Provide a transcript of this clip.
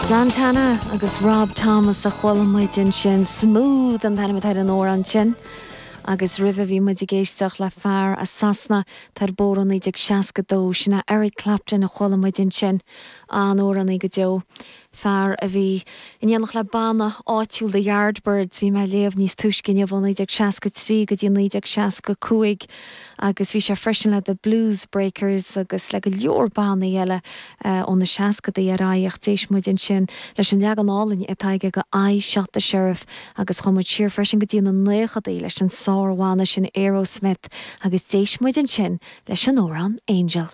Santana agus Rob Thomas a chuala muid ansin, Smooth an t-ainm atá ar an amhrán sin. Agus roimhe bhí muid ag éisteacht le fear as Sasana atá ar bóthar ó 1962, sin é Eric Clapton a chuala muid ansin. An-amhránaí go deo. Fear a bhí in éineacht le banna áitiúil The Yardbirds, bhí mé ag léamh níos túisce inniu, ó 1963 go dtí 1965 agus bhí sé freisin le The Blues Breakers agus le go leor bannaí eile ó na seascadaí ar aghaidh ach d'éist muid ansin leis an leagan álainn atá aige de I Shot the Sheriff agus chuaigh muid siar freisin go dtí na naochadaí leis an sár-bhanna sin Aerosmith agus d'éist muid ansin leis an amhrán Angel.